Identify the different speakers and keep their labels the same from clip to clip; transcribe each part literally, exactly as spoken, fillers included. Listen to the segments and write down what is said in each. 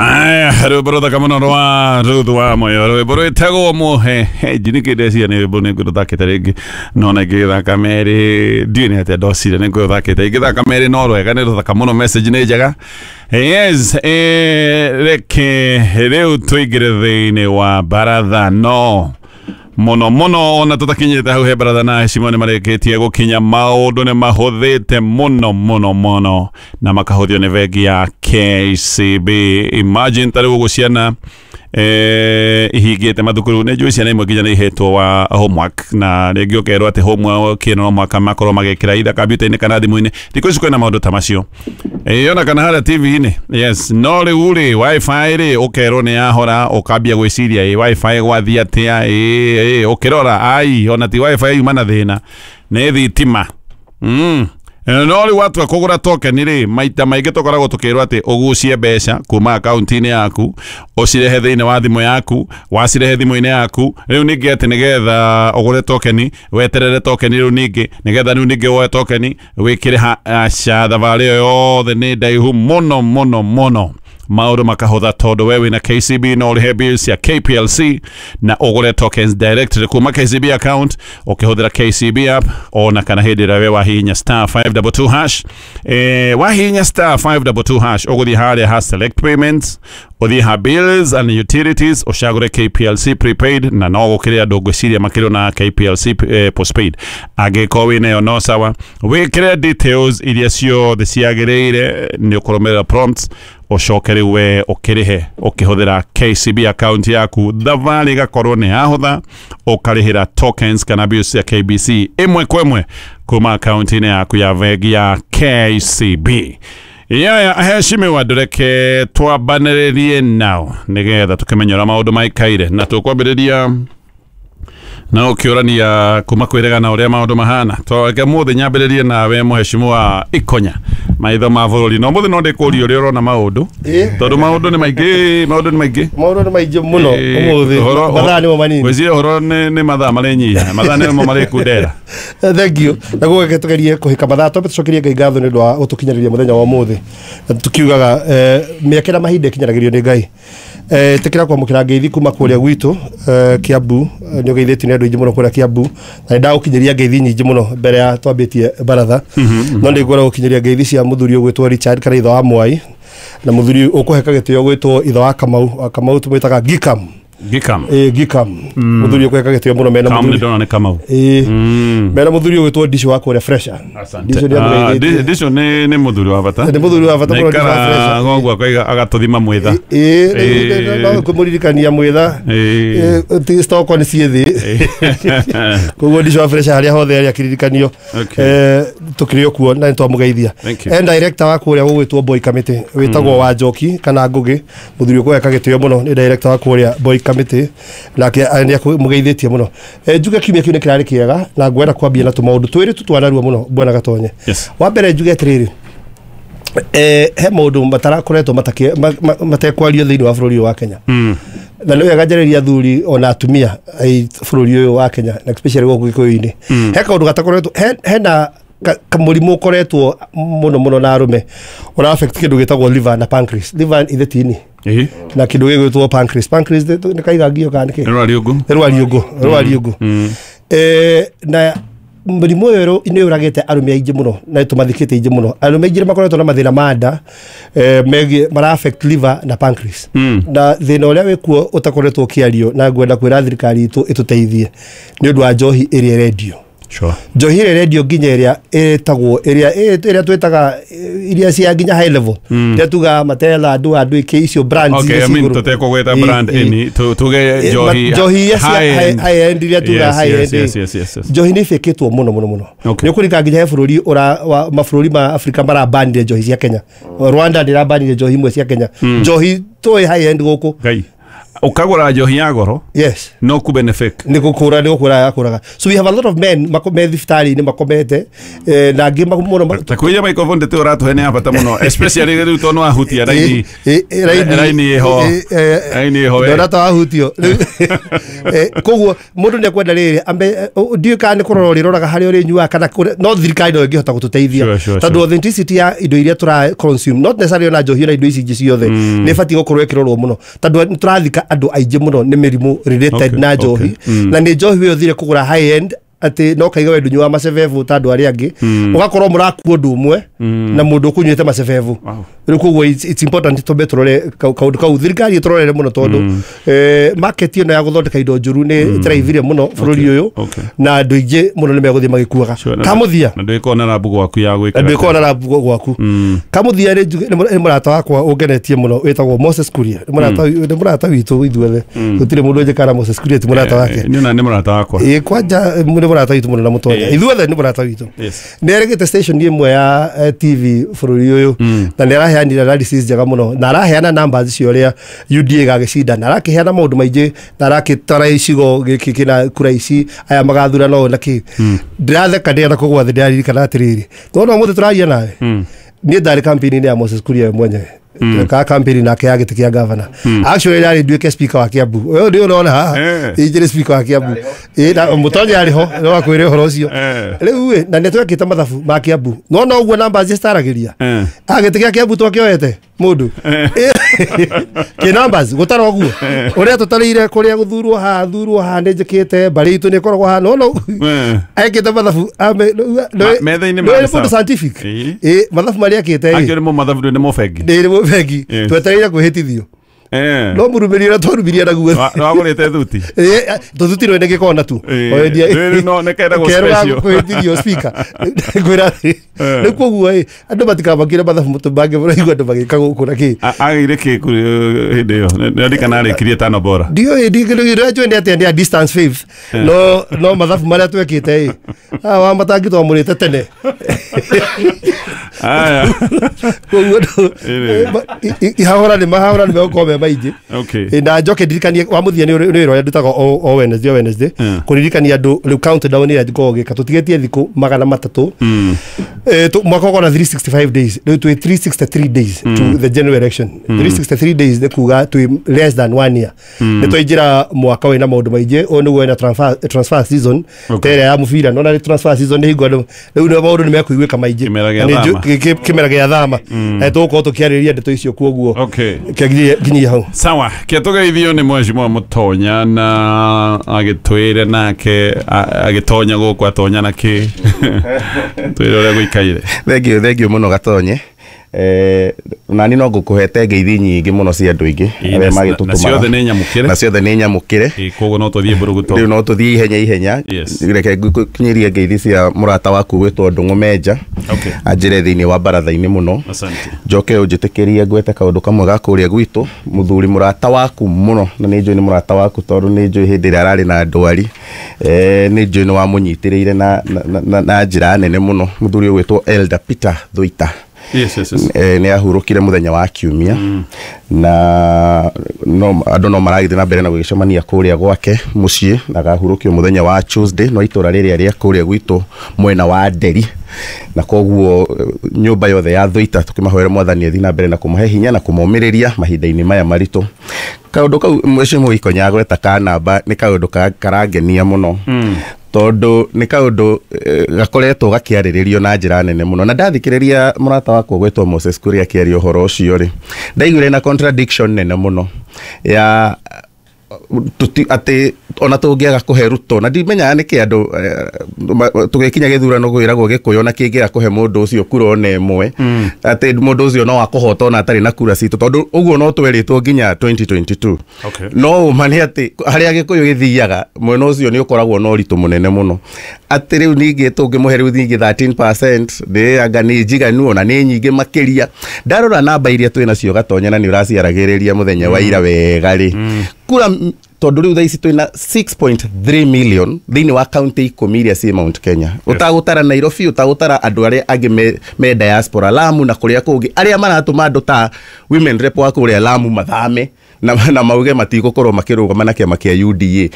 Speaker 1: Aya, rwĩmbo rũthaka mũno rwa Ruth wa Moyo, rwĩmbo rwĩtagwo Mũhehenji. Nĩkĩ ndeciria nĩ rwĩmbo nĩ ngũrũthakĩte rĩngĩ, no na ingĩgĩthaka merĩ ndiũĩ nĩ atĩa ndocire nĩ ngũrũthakĩte ingĩthaka merĩ no rwega, nĩ rũthaka mũno, message nĩ njega. Yes, eh, reke rĩu tũingĩre thĩinĩ wa baratha no mũno mũno ona tũtakinyĩte hau he baratha na heshima nĩ marĩkĩtie gũkinya. Maũndũ nĩ mahũthĩte mũno mũno mũno na makahũthio nĩ bengi ya K C B. Imagine ta rĩu ũguo ciana eh, ihingĩte mathukuru, nĩ njũĩ ciana imwe nginya nĩ ihetwo wa homework, na rĩngĩ ũkerwo atĩ homework ĩno no mũhaka makorwo magĩkĩra either kompiuta-inĩ kana thimũ-inĩ. Thikũ ici kwĩna maũndũ ta macio, ĩĩ, ona kana harĩa T V-inĩ. Yes, no rĩu rĩ, WiFi rĩ, ũkerwo nĩ yahora, ũkambia gwĩciria, ĩ WiFi gwathiĩ atĩa? Ĩ ĩ ũkĩrora ai ona ti WiFi yuma na thĩna, nĩ thitima. mm. No rĩu watua kũgũra token rĩ, maita maingĩ tũkoragwo tũkĩrwo atĩ ũgucie mbeca kuma akaunti-inĩ yaku ũcirehe thĩinĩ wa thimũ yaku. Wacirehe thimũ-inĩ yaku, rĩu ningĩ atĩ nĩgetha ũgũre token, weterere token, rĩu ningĩ nĩgetha rĩu ningĩ woe token wĩkĩre ha. Aca, thabarĩ ĩyo yothe nĩ ndaihu mũno mũno mũno. Maũndũ makahũtha tondũ we wĩna K C B, no ũrĩhe bills cia K P L C na ũgũre tokens directly kuma K C B account ũkĩhũthĩra K C B app, ona kana hĩndĩ ĩrĩa we wahihinya star five two two hash. eh, wahihinya star five two two hash, ũgũthiĩ harĩa ha select payments, ũthiĩ ha bills and utilities, ũcagũre K P L C prepaid, na no gũkĩrĩ andũ ngwĩciria makĩrĩ na K P L C eh, postpaid. Angĩkorwo wĩnayo no sawa, wĩkĩre details iria ciothe ciagĩrĩire, nĩ ũkũrũmĩrĩra prompts, ũcoke rĩu we ũkĩrĩhe ũkĩhũthĩra K C B account yaku. Thabarĩ ĩgakorwo nĩ yahũtha, ũkarĩhĩra tokens kana bills cia K B C ĩmwe kwa ĩmwe kuma akaunti-inĩ yaku ya bengi ya K C B. Yaya aheshimiwa, ndũreke twambanĩrĩrie nao nĩgetha tũkĩmenye ũrĩa maũndũ maikaire, na tũkwambĩrĩria na ũkĩũrania kuma kwĩregana ũrĩa maũndũ mahana. Twareke mũthĩ nyambĩrĩrie nawe, mũheshimiwa Ikonya, maitho ma bũrũri. No mũthĩ no ndĩkũria ũrĩa ũrona maũndũ,
Speaker 2: Ĩ.
Speaker 1: tondũ maũndũ nĩ maingĩ, maũndũ nĩ maingĩ.
Speaker 2: Maũndũ nĩ maingĩ mũno.
Speaker 1: Ĩ,
Speaker 2: ũmũthĩ
Speaker 1: ũhoro-
Speaker 2: mathaa nĩmo manini.
Speaker 1: Ngwĩciria ũhoro nĩ nĩ mathaa marĩnyihia, mathaa nĩmo marĩkundera.
Speaker 2: Thank you. Naguo reke tugerie kũhĩka mathaa, twambe tũcokerie Ngai ngatho nĩ ũndũ wa gũtũkinyĩrĩria mũthenya wa ũmũthĩ. Na tukiugaga eh, mĩaka na mahinda ĩkinyanagĩrio nĩ Ngai. Eh, ĩtĩkĩra kwamũkĩra ngeithi kuma kũrĩa gwitũ eh, Kiambu. eh, nĩ ũgeithĩtio nĩ andũ aingĩ mũno kũrĩa Kiambu, na nĩ ndagũkinyĩria ngeithi nyingĩ mũno mbere ya twambĩtie baratha, no nĩ ngwenda gũkinyĩria ngeithi cia mũthuri ũgwĩtwo Richard kana ithe wa Mwai, na mũthuri ũkũheka gĩtĩo gwĩtwo ithe wa Kamau. Wa Kamau tũmwĩtaga Gikam.
Speaker 1: Gikam.
Speaker 2: Ĩ, Gikam, mũthuri ũkũheka gĩtĩo mũno mena
Speaker 1: Kam nĩ
Speaker 2: mũthuri
Speaker 1: ndona nĩ Kamau.
Speaker 2: Ĩ, mena mũthuri ũgwĩtwo Ndicio wa kũrĩa Fresha. Ndicio nĩ
Speaker 1: Ah,
Speaker 2: amũgeithĩtie.
Speaker 1: Ndicio nĩ nĩ mũthuri wa bata.
Speaker 2: Nĩ mũthuri wa bata mũno, Ndicio wa
Speaker 1: Naikara
Speaker 2: Fresha.
Speaker 1: goguo akaiga agatũthima mwĩtha.
Speaker 2: Ĩ,
Speaker 1: Ĩ.
Speaker 2: no kũmũririkania mwĩtha.
Speaker 1: Ĩ.
Speaker 2: Ĩ, ti stoko nĩ ciĩ thĩ, koguo Ndicio wa Fresha harĩa hothe arĩ akĩririkanio.
Speaker 1: Okay.
Speaker 2: Eh, tũkĩrĩ o kuo na nĩ twamũgeithia.
Speaker 1: Thank you.
Speaker 2: En director wa kũrĩa gũgwĩtwo Boy Committee wĩtagwo wa Njoki kana Ngũgĩ, mũthuri ũkũheka gĩtĩo mũno, nĩ director wa kũrĩa Boy Committee, nake nĩ akũmũgeithĩtie mũno. Eh, njuge kiumia kĩu nĩ kĩrarĩ kĩega, na ngwenda kwambia na tũmaũndũ twĩrĩ tu twanarua mũno, bwana Gatonye.
Speaker 1: Yes.
Speaker 2: Wa mbere njuge atĩrĩrĩ, eh, he maũndũ matarakoretwo matake- ma- ma- matekwario thĩinĩ wa bũrũri ũyũ wa Kenya,
Speaker 1: Mm.
Speaker 2: na nĩ wega njarĩria athuri ona atumia ai bũrũri ũyũ wa Kenya, na especially gũkũ Gĩkũyũ-inĩ. He kaũndũ gatakoretwo he- hena ka- kamũrimũ ũkoretwo mũno mũno na arũme, ũra affect kĩndũ gĩtagwo liver na pancreas. Liver ithe tini
Speaker 1: Ĩ.
Speaker 2: na kĩndũ gĩgwĩtwo pancreas. Pancreas nĩ nĩ kaigangio kana nĩkĩ?
Speaker 1: Nĩ rwariũngũ.
Speaker 2: Nĩ rwariũngũ, nĩ rwariũngũ. Eh, na mũrimũ ũyũ nĩ ũragĩte arũme aingĩ mũno na tũmathikĩte aingĩ mũno. Arũme aingĩ nĩ makoretwo na mathĩna ma nda eh, megiĩ mara affect liver na pancreas,
Speaker 1: Mm.
Speaker 2: na thĩna ũrĩa wĩkuo ũtakoretwo ũkĩario, na ngwenda kwĩra thirikari itũ ĩtũteithie nĩ ũndũ wa njohi ĩrĩa ĩrendio.
Speaker 1: Sure.
Speaker 2: Njohi ĩrĩa ĩrendio, nginya ĩrĩa ĩtagwo ĩrĩa ĩrĩa twĩtaga eh, iria cia nginya high level, ĩrĩa tugaga Matela, andũ andũ ĩkĩ icio brands
Speaker 1: Okay,
Speaker 2: iria
Speaker 1: I
Speaker 2: ciĩ
Speaker 1: mean
Speaker 2: igũrũ.
Speaker 1: tũtekũgweta
Speaker 2: Ĩ,
Speaker 1: brand
Speaker 2: ĩ.
Speaker 1: any, tu- tuge
Speaker 2: Eh,
Speaker 1: njohi
Speaker 2: ma- njohi iria cia
Speaker 1: high end.
Speaker 2: high end, iria tugaga
Speaker 1: Yes,
Speaker 2: high
Speaker 1: yes,
Speaker 2: end.
Speaker 1: yes, yes, yes, yes.
Speaker 2: Njohi nĩ ĩbĩkĩtwo mũno mũno mũno.
Speaker 1: Okay.
Speaker 2: Nĩ ũkũrika nginya he bũrũri ũra wa- mabũrũri ma Afrika marabanire njohi cia Kenya. Rwanda ndĩrabanire njohi imwe cia Kenya, njohi tũĩ high end gũkũ.
Speaker 1: Ngai. Ukagura njohi ya goro
Speaker 2: yes
Speaker 1: no ku benefit
Speaker 2: ni gukura ni gukura yakuraga. So we have a lot of men makome thibitarĩ-inĩ makomete eh, na angĩ mũno
Speaker 1: ta kuja microphone ndete uratuhe nĩ ya bata mũno especially rĩu tondũ wahutia raini raini ĩho raini ĩho
Speaker 2: ndona ta wahutio. Koguo mũndũ nĩ ekwenda rĩrĩ ambe ndiũĩ kana nĩ kũrora ũrĩroraga harĩa ũrĩnyuaga kana no thirikari no ĩngĩhota gũtũteithia tondũ authenticity ya indo iria tũra consume not necessarily ona njohi na indo ici ingĩ ciothe nĩ ĩbatiĩ gũkorwo ĩkĩrorwo mũno tondũ nĩ tũrathika andũ aingĩ mũno nĩ mĩrimũ related na njohi na nĩ njohi we ũthire kũgũra high end atĩ no kaiga we ndũnyuaga macebebu ta andũ arĩa angĩ ũgakorwo mũrakua ũndũ ũmwe na mũndũ ũkũnyuĩte macebebu. Rĩu koguo it's important tũmbe tũrore kaũndũ kau thirikari ĩtũrorere mũno tondũ market ĩno ya gũthondeka indo njũru nĩ ĩtĩraithire mũno bũrũri ũyũ na andũ aingĩ mũno nĩ megũthiĩ magĩkuaga. Kamũthia
Speaker 1: na ndwĩkorwo na rabu gwaku ya gwĩkĩra
Speaker 2: na ndwĩkorwo na rabu gwaku. Kamũthia nĩ mũrata wakwa ũngenetie mũno wĩtagwo Moses Kuria nĩ mũrata witũ ithuothe gũtirĩ mũndũ ũnjĩkara Moses Kuria ti mũrata wake.
Speaker 1: Niĩ ona nĩ mũrata wakwa.
Speaker 2: Ĩĩ kwanja nĩ mũrata witũ mũno na mũtonya ithuothe nĩ mũrata witũ. Nĩ erĩgĩte station ĩmwe ya T V bũrũri ũyũ na nĩ araheanire analysis njega mũno na araheana numbers cio ũrĩa U D A gagĩcinda na arakĩheana maũndũ maingĩ na arakĩtara icigo gĩkĩ kĩna kura ici aya magathurana ũũ na kĩ. Ndĩratheka ndĩrenda kũgwa thĩ ndĩraririkana atĩrĩrĩ tondũ ũmũthĩ tũraria nawe niĩ ndarĩ campaign-inĩ ya Moses Kuria we mwenyewe ka campaign nake ya gĩtĩ kĩa governor. Actually yarĩ nduĩke speaker wa Kiambu ũyũ nĩ ũrona haha injĩrĩ speaker wa Kiambu ĩ na mũtonya arĩ ho no akwĩre ũhoro ũcio rĩu ĩ na nĩ twekĩte mathabu ma Kiambu no no ũguo numbers citaragĩria a gĩtĩ kĩa Kiambu twakĩoete mũndũ kĩ numbers gũtara ũguo ũrĩa tũtarĩire kũrĩa gũthurwo haha thurwo haha nĩ njĩkĩte mbarĩ itũ nĩ ĩkoragwo haha no no ekĩte mathabu
Speaker 1: metha-inĩ
Speaker 2: ma mũndũ scientific ĩ mathabu marĩa ekĩte ĩ
Speaker 1: akĩrĩ mo mathabu nĩ mo bengi
Speaker 2: nĩ mo bengi twetereire kwĩhĩtithio no mũrumĩri ũrĩa twarumirie naguo
Speaker 1: wagũrĩte thuti
Speaker 2: tũthuti rwene gĩkona tu
Speaker 1: no nĩ kenda gũ special
Speaker 2: kwĩhĩtithio speaker ngwĩra rĩu koguo ĩ andũ matikamakire mathabu mũtũmbange mũraigua andũ magĩka gũkũ na kĩ
Speaker 1: agĩire kĩ hĩndĩ ĩyo nĩndikana arĩkirie tano bora
Speaker 2: ndiũĩ ndĩrĩa njũĩ nĩ atĩa nĩ ya distance fifth no no mathabu marĩa twekĩte ĩ wa matangi twamũrĩte tene.
Speaker 1: Aya
Speaker 2: koguo ihahũra nĩ mahahũra nĩ megũkorwo me maingĩ. Na njoke ndirikanie wa mũthia nĩ wĩra ũrĩa ndutaga o Wednesday o Wednesday kũririkania andũ rĩu countdown ĩrĩa ngoragwo ngĩka tũtigĩtie thikũ magana matatũ mwaka ũkorwo na three sixty-five days rĩu twĩ three sixty-three days to the general election. three sixty-three days nĩ kuga twĩ less than one year nĩ twaingĩra mwaka wĩna maũndũ maingĩ ũyũ nĩguo wĩna transfer season ta ĩrĩa ya mũbira nona nĩ transfer season nĩ hingo andũ rĩu nĩ maũndũ nĩ mekũiguĩka maingĩ kĩmera gĩa thama na tũgũkorwo tũkĩarĩrĩria ndeto icio kuoguo nginyia hau.
Speaker 1: Sawa kĩatũgeithio nĩ mheshimiwa Mũtonya na agĩtwĩre nake agĩtonya gũkũ atonya na kĩ twĩre ũrĩa gũikaire.
Speaker 3: Thank you thank you mũno Gatonye. Eh nani no ngũkũhete ngeithi nyingĩ mũno cia andũ aingĩ arĩa magĩtũtũmaga
Speaker 1: na ciothe nĩ nyamũkĩre
Speaker 3: na ciothe nĩ nyamũkĩre
Speaker 1: koguo no tũthiĩ mbũrũgũtũ
Speaker 3: rĩu no tũthiĩ ihenya ihenya. Reke ngũkinyĩrie ngeithi cia mũrata waku gwĩtwo Ndũng'ũ Menja anjĩre thĩinĩ wa baratha-inĩ mũno. Njoke ũnjĩtĩkĩrie ngwete kaũndũ kamwe ga kũrĩa gwitũ mũthuri mũrata waku mũno na nĩ njũĩ nĩ mũrata waku tondũ nĩ njũĩ hĩndĩ ĩrĩa ararĩ na ndwari eh nĩ njũĩ nĩ wamũnyitĩrĩire na na njĩra nene mũno mũthuri ũgwĩtwo Elder Peter Thuita.
Speaker 1: Yes, yes, yes.
Speaker 3: Eh, nĩ ahurũkire mũthenya wa kiumia mm. na no andũ no maragĩthiĩ na mbere na gũgĩcemania kũrĩa gwake mũciĩ na agahurũkio mũthenya wa Tuesday no itũra rĩrĩa rĩa kũrĩa gwitũ mwena wa Nderi na koguo nyũmba yothe ya Thuita tũkĩmahoera mwathani athiĩ na mbere na kũmahe hinya na kũmomĩrĩria mahinda-inĩ maya maritũ. Kaũndũ kau mheshimiwa Ikonya agweta ka namba nĩ kaũndũ karangenia mũno mm. tondu nĩ kaũndũ gakoretwo gakĩarĩrĩrio na njĩra nene mũno na ndathikĩrĩria mũrata wakwa gwĩtwo Moses Kuria akĩaria ũhoro ũcio rĩ ndaiguire na contradiction nene mũno ya tuti atĩ ona tũngĩaga kũhe Ruto na ndimenyaga nĩkĩ andũ tũgĩkinya gĩthurano kwĩragwo Gĩkũyũ na kĩngĩaga kũhe mũndũ ũcio kura ona ĩmwe atĩ mũndũ ũcio no akũhota ona atarĩ na kura citũ tondũ ũguo no twerĩtwo nginya twenty twenty-two. No ũma nĩ atĩ harĩa Gĩkũyũ gĩthiaga mwena ũcio nĩ ũkoragwo na ũritũ mũnene mũno atĩ rĩu ningĩ tũngĩmũhe rĩu ningĩ thirteen percent nĩ anga nĩ njiganu ona nĩ nyingĩ makĩria. Ndarora namba iria twĩ nacio Gatonya na nĩ ũraciaragĩrĩria mũthenya wa ira wega rĩ kura tondu riu thaa ici twina six point three million thiini wa county ikumi iria ci Mount Kenya. Utagutara Nairobi, utagutara andu aria angi me, me diaspora Lamu na kuria kungi aria maratuma andu ta women rep wa kuria Lamu mathame na, na mauge matigũkorwo makĩrũgama na kĩama kĩa U D A.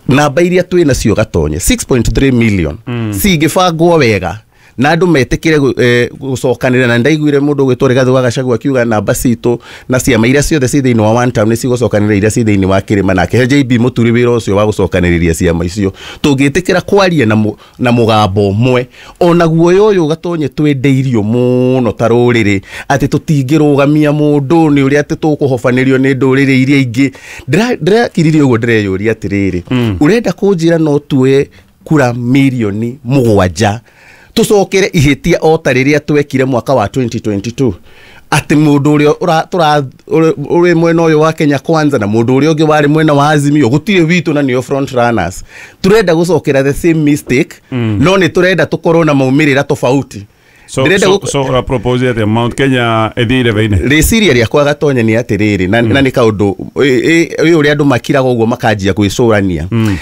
Speaker 3: Namba iria twĩ nacio Gatonye six point three million mm. cingĩbangwo wega na andũ metĩkĩre gũcokanĩrĩra, na ndaiguire mũndũ ũgwĩtwo Rigathĩ wa Gachagua akiuga namba citũ na ciama iria ciothe ci thĩinĩ wa one term nĩ cigũcokanĩrĩra iria ci thĩinĩ wa kĩrĩma, nake he J B Mũturi wĩra ũcio wa gũcokanĩrĩria ciama icio. Tũngĩtĩkĩra kwaria na, na mũgambo ũmwe, ona guoya ũyũ Gatonye twendeirio mũno ta rũrĩrĩ atĩ tũtingĩrũgamia mũndũ nĩ ũrĩa atĩ tũkũhobanĩrio nĩ ndũrĩrĩ iria ingĩ. Ndĩrakiririe ũguo ndĩreyũria atĩrĩrĩ, ũrenda kũnjĩra no tuoye kura mirioni mũgwanja tucokere ihĩtia o ta rĩrĩa twekire mwaka wa twenty twenty-two, atĩ mũndũ ũrĩa tũra ũrĩ mwena ũyũ wa Kenya Kwanza na mũndũ ũrĩa ũngĩ warĩ mwena wa Azimio gũtirĩ witũ na nĩo front runners. Turenda gũcokera the same mistake, mm. no nĩ turenda tũkorwo na maumĩrĩra tofauti.
Speaker 1: So, so, so ura propose atĩ Mount Kenya ĩthiire thĩinĩ.
Speaker 3: Rĩciria rĩakwa Gatonye nĩ atĩrĩrĩ, na, mm. na nĩ kaũndũ ũyũ ũrĩa andũ makiraga ũguo makanjia gwĩcũrania. Mm.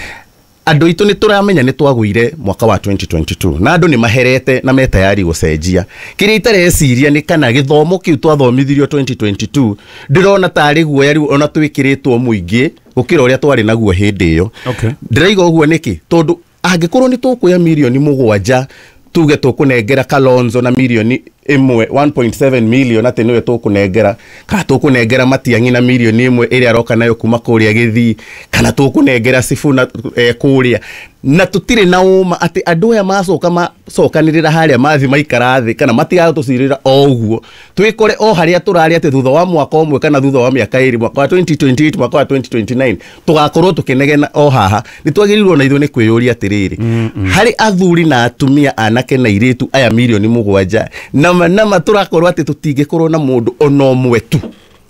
Speaker 3: Andũ aitũ nĩ tũramenya nĩ twagũire mwaka wa twenty twenty-two na andũ nĩ maherete na metayari gũcenjia. Kĩrĩa itareciria nĩ kana gĩthomo kĩu twathomithirio twenty twenty-two ndĩrona tarĩ guoya rĩu ona twĩkĩrĩtwo mũingĩ gũkĩra ũrĩa twarĩ naguo hĩndĩ ĩyo.
Speaker 1: Okay.
Speaker 3: Ndĩraiga ũguo nĩkĩ? Tondũ angĩkorwo nĩ tũkuoya mirioni mũgwanja tuge tũkũnengera Kalonzo na mirioni ĩmwe one point seven million atĩ nĩwe tũkũnengera, kana tũkũnengera Matiang'i na mirioni ĩmwe ĩrĩa aroka nayo kuma kũrĩa Gĩthii, kana tũkũnengera Sifuna eh, kũrĩa, na tũtirĩ na ũma atĩ andũ aya macoka macokanĩrĩra harĩa mathi maikara thĩ kana matigatũcirĩra o ũguo, twĩkore o harĩa tũrarĩ atĩ thutha wa mwaka ũmwe kana thutha wa mĩaka ĩrĩ, mwaka wa twenty twenty-eight, mwaka wa twenty twenty-nine tũgakorwo tũkĩnegena o haha. Nĩ twagĩrĩirwo na ithuĩ nĩ kwĩyũria atĩrĩrĩ, mm -mm. harĩ athuri na atumia anake na airĩtu aya mirioni mũgwanja nama nama tũrakorwo atĩ tũtingĩkorwo na mũndũ ona ũmwe tu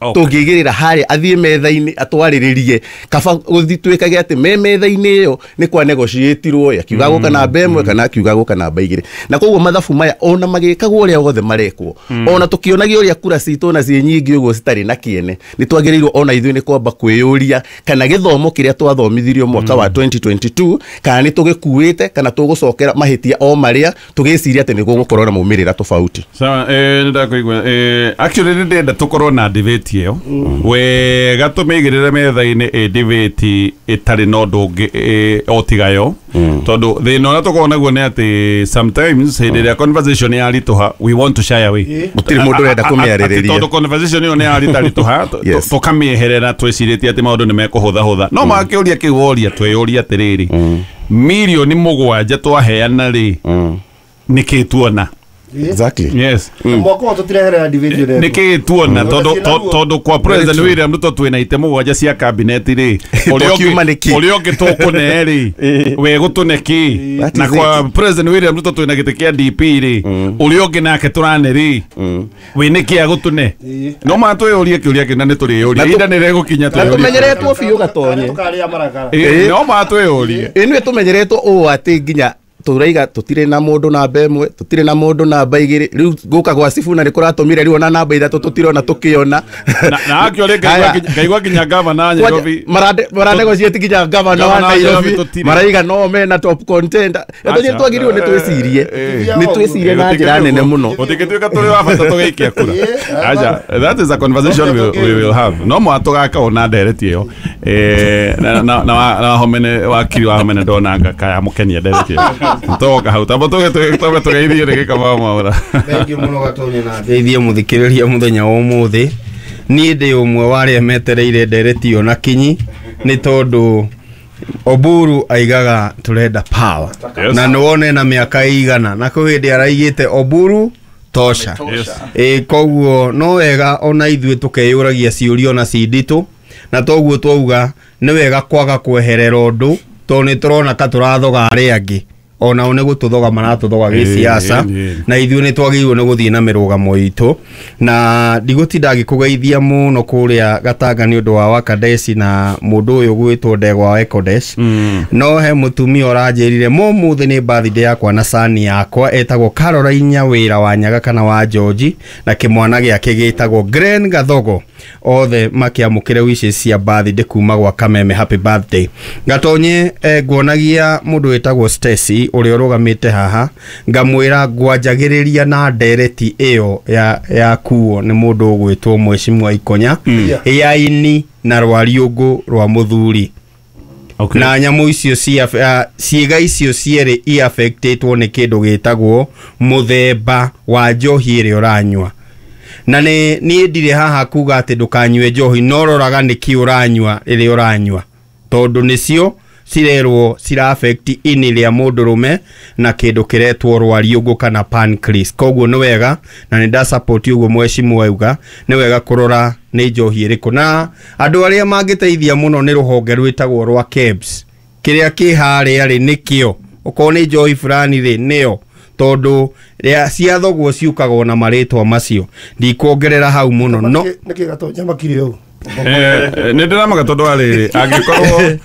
Speaker 3: tũngĩigĩrĩra harĩa athiĩ metha-inĩ atwarĩrĩrie, kaba gũthiĩ twĩkage atĩ me metha-inĩ ĩyo nĩ kwa negotiatirwo, akiuga gũka namba ĩmwe kana akiuga gũka namba igĩrĩ. Na koguo mathabu maya ona magĩkagwo ũrĩa wothe marekwo, ona tũkĩonagia ũrĩa kura citũ na ciĩ nyingĩ ũguo citarĩ na kĩene, nĩ twagĩrĩirwo ona ithuĩ nĩ kwamba kwĩyũria kana gĩthomo kĩrĩa twathomithirio mwaka wa twenty twenty-two kana nĩ tũgĩkuĩte kana tũgũcokera mahĩtia o marĩa tũgĩciria atĩ nĩ gũgũkorwo na maumĩrĩra tofauti.
Speaker 1: Sawa, eh nĩndakũigua. Eh actually nĩ ndĩrenda tũkorwo na debate ĩyo wega, tũmĩigĩrĩre metha-inĩ ĩ debate ĩtarĩ na ũndũ ũngĩ o tiga yo, tondũ thĩna ũrĩa tũkoragwo naguo nĩ atĩ sometimes hĩndĩ ĩrĩa conversation yaritũha we want to shy away,
Speaker 3: gũtirĩ mũndũ ũrenda kũmĩarĩrĩria
Speaker 1: tondũ conversation ĩyo nĩ yaritaritũha tũkamĩeherera twĩcirĩtie atĩ maũndũ nĩ mekũhũthahũtha. No makĩũria kĩu woria twĩyũria atĩrĩrĩ, mirioni mũgwanja twaheana rĩ nĩkĩ tuona?
Speaker 3: Exactly.
Speaker 1: Yes.
Speaker 2: Mwaka wa tũtireherera debate ĩyo.
Speaker 1: Nĩkĩ tuona tondu tondu kwa President William Ruto twina ite mũgwanja cia cabinet rĩ, ũrĩa ũngĩ ũrĩa ũngĩ tũkũne rĩ we gũtũne kĩ, na kwa President William Ruto twina gĩtĩ kĩa D P rĩ, ũrĩa ũngĩ nake tũrane rĩ we nĩkĩ agũtũne? No ma twĩyũrie kĩũria kĩu na nĩ tũrĩyũria ihinda nĩ rĩgũkinya
Speaker 3: twĩyũrie. Tũmenyeretwo biũ Gatonye.
Speaker 1: No ma twĩyũrie.
Speaker 3: Ĩnĩ tũmenyeretwo ũũ atĩ nginya turaiga tutire na mundu namba ĩmwe, tutire na mundu namba igĩrĩ, rĩu gũka gwa Sifuna nĩ kũratũmire rĩu ona namba ithatũ tũtirona tũkĩona.
Speaker 1: Na akĩore ngaigua nginya gavana Nairobi
Speaker 3: maranegotiate nginya gavana wa Nairobi maraiga no mena top contender. Gatonye twagĩrĩirwo nĩ twĩcirie nĩ twĩcirie na njĩra nene mũno,
Speaker 1: gũtingĩtuĩka tũrĩ wa bata tũgĩikia kura. Aja, that is a conversation we, we will have. No mwa tũgaka ona ndereti ĩyo eh na na na homene wakiri wa homene ndona kaya mũkenia ndereti ĩyo toka hau tamba tuge tuge tugeithie rĩngĩ Kamau Mwaura.
Speaker 4: Thank you mũno Gatonye na ngeithie mũthikĩrĩria mũthenya wa ũmũthĩ. Niĩ ndĩ ũmwe wa arĩa metereire ndereti ĩyo na kinyi nĩ tondũ Oburu aigaga turenda power.
Speaker 1: Yes.
Speaker 4: Na nĩwone na mĩaka igana na kwĩ hĩndĩ araigĩte Oburu tosha.
Speaker 1: Yes.
Speaker 4: Ĩ koguo no wega ona ithuĩ tũkeyũragia ciũria ona ci nditũ, na toguo twauga nĩ wega kwaga kweherera ũndũ tondũ nĩ tũrona ka tũrathoga arĩa angĩ ona o nĩ gũtũthoga maratũthoga gĩsiasa, na ithuĩ nĩ twagĩrĩirwo nĩ gũthiĩ na mĩrũgamo itũ. Na ndigũtinda ngĩkũgeithia mũno kũrĩa Gatanga nĩ ũndũ wa Wakadesi na mũndũ ũyũ gwĩtwo Ndegwa wa Ekodesh. No he mũtumia ũranjĩrire mũmũthĩ nĩ birthday yakwa na sani yakwa etagwo Caroline Nyawĩra wa Nyaga kana wa George, na kĩmwana gĩake gĩtagwo Glen Gathogo. Othe makĩamũkĩre wishes cia birthday kuma gwa Kameme, happy birthday. Gatonye, eh, nguonagia mũndũ wĩtagwo Stacy ũrĩa ũrũgamĩte haha, ngamwĩra ngwanjagĩrĩria na ndereti ĩyo ya, ya kuo nĩ mũndũ ũgwĩtwo Mheshimiwa Ikonya
Speaker 2: Mm.
Speaker 4: ya ini na rwariũngũ rwa mũthuri.
Speaker 1: Okay.
Speaker 4: Na nyamũ icio cia uh, ciĩga icio cierĩ iaffectĩtwo nĩ kĩndũ gĩtagwo mũthemba wa njohi ĩrĩa ũranyua. Na nĩ niĩ ndirĩ haha kuga atĩ ndũkanyue njohi, no roraga nĩkĩ ũranyua rĩrĩa ũranyua, tondũ nĩcio cirerwo cira affect ini rĩa mũndũrũme na kĩndũ kĩretwo rwariũngũ kana pancreas. Koguo nĩ wega, na nĩ nda support ũguo mheshimiwa auga, nĩ wega kũrora nĩ njohi ĩrĩkũ. Na andũ arĩa mangĩteithia mũno nĩ rũhonge rwĩtagwo rwa KEBS, kĩrĩa kĩ harĩa rĩ nĩkĩo, okorwo nĩ njohi fulani rĩ nĩyo, tondũ rĩa ciathogwo ciukagwo na marĩtwa macio. Ndikuongerera hau mũno no.
Speaker 2: Nĩkĩ Gatonya makire ũũ?
Speaker 1: Eh, nĩ ndĩramaka tondũ wa rĩrĩ, angĩkorwo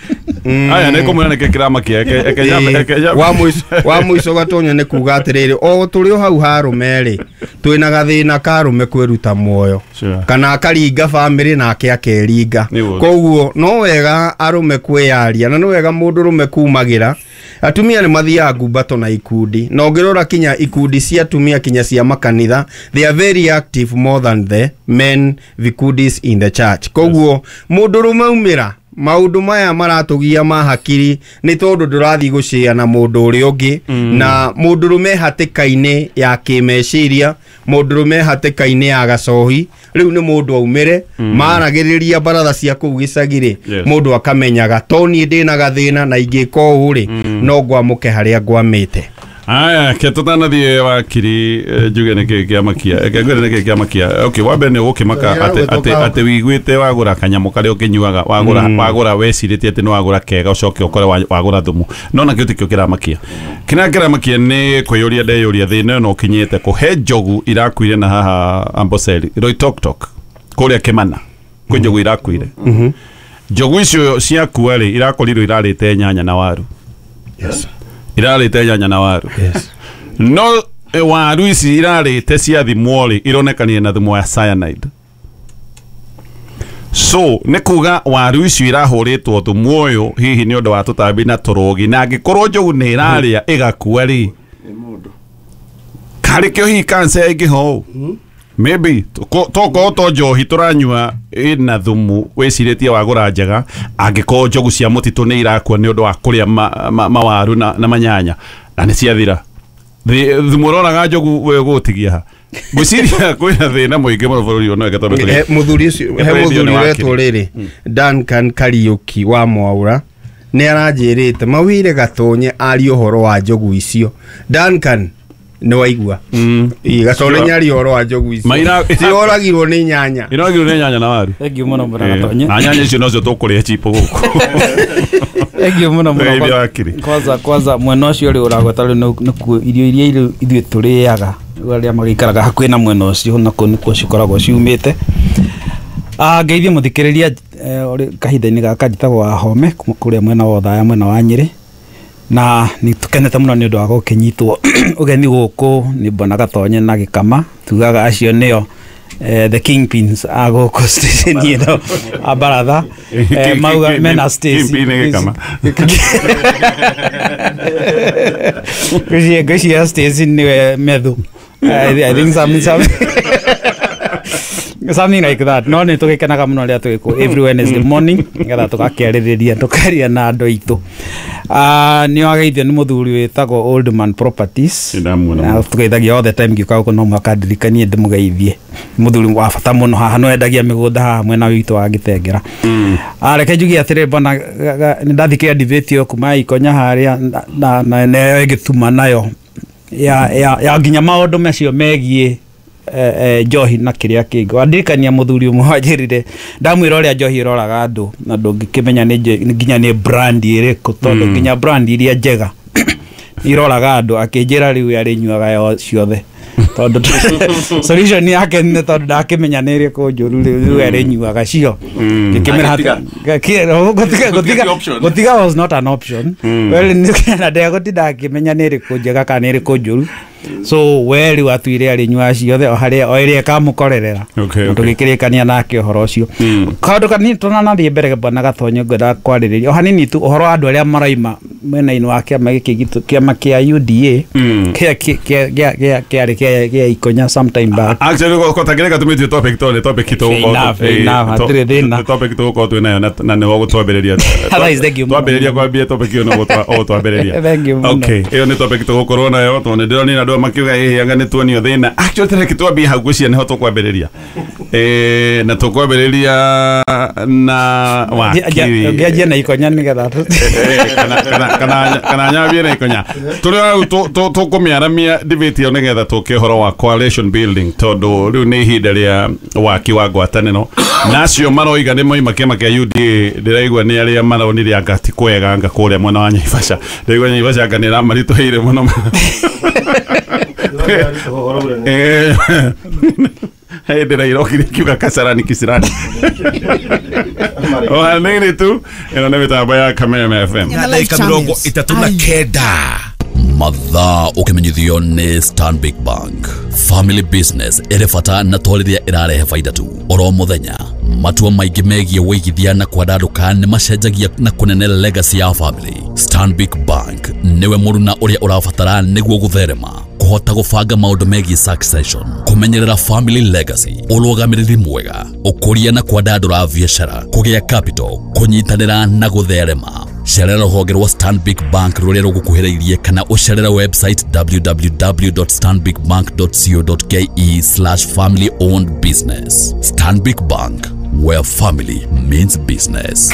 Speaker 1: aya nĩ kũmwĩra nĩkĩ kĩramakia. Eke- eke nyambe- eke nyambe-
Speaker 4: wa mũico wa mũico Gatonya nĩ kuga atĩrĩrĩ, o tũrĩ o hau harũme rĩ, twĩna gathĩna ka arũme kwĩruta muoyo.
Speaker 1: Sure.
Speaker 4: Kana akaringa bamĩrĩ nake akeringa.
Speaker 1: Nĩguo.
Speaker 4: Koguo no wega arũme kwĩyaria, na nĩ wega mũndũrũme kumagĩra. Atumia nĩ mathiaga ngumbato na ikundi, na ũngĩrora kinya ikundi cia atumia kinya cia makanitha, they are very active more than the men vikundis in the church. Koguo mũndũrũme umĩra, maũndũ maya maratũgia ma hakiri nĩ tondũ ndũrathiĩ gũcĩa na mũndũ ũrĩa ũngĩ mm. Na mũndũrũme hatĩka-inĩ ya kĩmeciria, mũndũrũme hatĩka-inĩ ya gacohi, rĩu nĩ mũndũ aumĩre mm. Maragĩrĩria baratha cia kũu gĩcagi-rĩ,
Speaker 1: Yes.
Speaker 4: mũndũ akamenyaga to niĩ ndĩna gathĩna, na ingĩka ũũ rĩ, no ngwamũke harĩa ngwamĩte.
Speaker 1: Aya, ke tũtanathiĩ wakiri, eh, njuge nĩkĩ kĩamakia, eke ngwĩre nĩkĩ kĩamakia. Okay, wa mbere nĩ ũgũkĩmaka atĩ atĩ atĩ wiguĩte wagũra kanyamũ karĩa ũkĩnyuaga, wagũra wagũra wecirĩtie atĩ nĩ wagũra kega, ũcoke ũkore wa- wagũra thumu. No nakĩo tikĩo kĩramakia. Kĩrĩa kĩramakia nĩ kwĩyũria ndeyũria thĩna ĩno ũkinyĩte kũhe njogu irakuire na haha Amboseli, Loitoktok, kũrĩa Kĩmana, kwĩ njogu irakuire. Njogu icio ciakua rĩ, irakorirwo irarĩte nyanya na waru.
Speaker 2: Yes.
Speaker 1: Irarĩte nyanya na waru.
Speaker 2: Yes.
Speaker 1: No eh, waru ici irarĩte ciathimwo rĩ, ironekanire na thumu wa cyanide. So nĩ kuga waru icio irahũrĩtwo thumu ũyũ hihi nĩ ũndũ wa tũtambi na tũrũgi, na angĩkorwo njogu nĩ ĩrarĩa ĩgakua rĩ, karĩ kĩo hihi cancer ĩngĩho ũũ maybe tokorwo to njohi tũranyua ĩna thumu wĩcirĩtie wagũra njega, angĩkorwo njogu cia mũtitũ nĩ irakua nĩ ũndũ wa kũrĩa ma, ma, mawaru na, na manyanya na nĩ ciathira. Thĩ- thumu ũroraga njogu we ũgũtigia ha? Ngwĩciria kwĩna thĩna mũingĩ mũno bũrũri ũyũ, no eke tondũ
Speaker 4: He mũthuri ũcio, he
Speaker 1: Tũrĩ
Speaker 4: mũthuri
Speaker 1: nĩ
Speaker 4: ũretwo
Speaker 1: wakiri.
Speaker 4: rĩrĩ Duncan Kariuki wa Mwaura nĩ aranjĩrĩte mawire Gatonye arie ũhoro wa njogu icio. Duncan, nĩ waigua? Ĩ, Gatonye
Speaker 1: Sure.
Speaker 4: nyarie ũhoro wa njogu icio
Speaker 1: Maira-
Speaker 4: ciroragirwo nĩ nyanya.
Speaker 1: Iroragirwo nĩ nyanya na waru.
Speaker 5: Thengiũ mũno mũno
Speaker 1: Eh,
Speaker 5: Gatonye.
Speaker 1: na nyanya icio nocio tũkũrĩa chipo gũkũ.
Speaker 5: Thengiũ mũno mũno.
Speaker 1: Tũgeithia wakiri.
Speaker 5: Kwanza kwanza mwena ũcio rĩ ũragweta rĩu nĩ- nĩkuo irio iria irĩ ithuĩ tũrĩaga, rĩu arĩa magĩikaraga hakuhĩ na mwena ũcio nakuo nĩkuo cikoragwo ciumĩte. Ah, ngeithie mũthikĩrĩria eh, ũrĩ kahinda-inĩ gaka. Njĩtagwo Wahome kuma kũrĩa mwena wa Othaya, mwena wa Nyĩrĩ, na nĩ tũkenete mũno nĩ ũndũ wa gũkĩnyitwo ũgeni gũkũ nĩ Bwana Gatonye na Gĩkama. Tugaga acio nĩo eh, the kingpins a gũkũ station ĩno a baratha. Eh, mauga mena Stacy.
Speaker 1: Kingpin nĩ Gĩkama.
Speaker 5: Ngwĩciria ngwĩciria Stacy nĩwe methu. I, I think some, some something like that. No nĩ tũgĩkenaga mũno rĩrĩa tũgĩkũ every Wednesday morning nĩgetha tũgakĩarĩrĩria, tũkaria na andũ aitũ. Ah, nĩ wageithio nĩ mũthuri wĩtagwo Old Man Properties.
Speaker 1: Nĩndamuona
Speaker 5: Na
Speaker 1: mũno.
Speaker 5: tũgeithagia all the time. Ngĩũka gũkũ no mũhaka ndirikanie ndĩmũgeithie. Mũthuri wa bata mũno haha, no endagia mĩgũnda haha mwena witũ wa Gĩtengera. Ah, reke njuge atĩrĩ, bwana, nĩ ndathikĩrĩria debate ĩyo kuma Ikonya harĩa na- na na nayo ĩgĩtuma nayo ya, ya, ya nginya maũndũ macio megiĩ eh, eh, njohi na kĩrĩa kĩngĩ. Wandirikania mũthuri ũmwe wanjĩrire, ndamwĩra ũrĩa njohi ĩroraga andũ na ndũngĩkĩmenya nĩ nje- nginya nĩ brand ĩrĩkũ, tondũ nginya brand iria njega iroraga andũ. Akĩnjĩra rĩu arĩnyuaga yo ciothe. Tondu solution yake nĩ tondũ ndakĩmenya nĩ ĩrĩkũ njũru rĩu rĩu arĩnyuaga cio. Ngĩkĩmĩra
Speaker 1: Agĩtiga.
Speaker 5: gũtiga
Speaker 1: Gũtiga option.
Speaker 5: Gũtiga was not an option. Well, na ndegũtinda akĩmenya nĩ ĩrĩkũ njega kana nĩ ĩrĩkũ njũru, so we rĩu atuire arĩnyuaga ciothe o harĩa o ĩrĩa ĩkamũkorerera.
Speaker 1: Okay,
Speaker 5: Na
Speaker 1: okay.
Speaker 5: tũgĩkĩrĩkania nake ũhoro ũcio. Kaũndũ kanini tũnanathiĩ mbere, bwana Gatonyo, ngwenda kwarĩrĩria o hanini tu ũhoro wa andũ arĩa maraima mwena-inĩ wa kĩama gĩkĩ gitũ, kĩama kĩa U D A, kĩa kĩa kĩa kĩa kĩarĩ kĩa kĩa Ikonya sometime back.
Speaker 1: Actually, gotangĩreka tũmĩtue topic tondũ nĩ topic
Speaker 5: Fair enough, fair enough, hatirĩ thĩna.
Speaker 1: Topic tũgũkorwo twĩ nayo na- na nĩho gũtwambĩrĩria.
Speaker 5: Otherwise, thank you mũno.
Speaker 1: Twambĩrĩria kwambia topic ĩyo no ũgũtwambĩrĩria.
Speaker 5: Thank you mũno.
Speaker 1: Okay, ĩyo nĩ topic tũgũkorwo nayo tondũ nĩ ndĩronire andũ makiuga ĩhĩ anga nĩ tuonio thĩna. Actually, tareke twambie hau, ngwĩciria nĩho tũkwambĩrĩria. Eh, na tũkwambĩrĩria na wakiri.
Speaker 5: Ngĩanjia na Ikonya nĩgetha tũ-
Speaker 1: Eh, kana kana kana kana nyambie na Ikonya tũrĩ hau tũkũmĩaramia debate ĩyo nĩgetha tũke ũhoro wa coalition building, tondũ rĩu nĩ ihinda rĩa waki wa ngwatanĩro, na acio maroiga nĩ moima kĩama kĩa U D A, ndĩraigua nĩ arĩa maronire anga ti kwega anga kũrĩa mwena wa Naivasha. Ndĩraigua Naivasha anga nĩ ĩramaritũhĩire mũno. Eh, hĩndĩ ndĩrairokire kiuga kasarani kisirani o hanini tu. Ĩno nĩ mĩtambo ya Kameme F M.
Speaker 6: Na ndagĩka mĩrongo ĩtatũ na kenda.
Speaker 7: Mathaa ũkĩmenyithio nĩ Stanbic Bank. Family business ĩrĩ bata na to rĩrĩa ĩrarehe baida tu. Oro mũthenya matua maingĩ megiĩ wĩigithia na kwandandũka nĩ macenjagia na kũnene legacy ya family. Stanbic Bank nĩwe mũruna ũrĩa ũrabatara nĩguo gũtherema, kũhota gũbanga maũndũ megiĩ succession, kũmenyerera family legacy, ũrũgamĩrĩri mwega, ũkũria na kwandandũra biacara, kũgĩa capital, kũnyitanĩra na gũtherema. Cerera rũhonge rwa Stanbic Bank rũrĩa rũgũkuhĩrĩirie kana ũcerere website w w w dot stanbicbank dot co dot k e slash family owned business. Stanbic Bank, where family means business.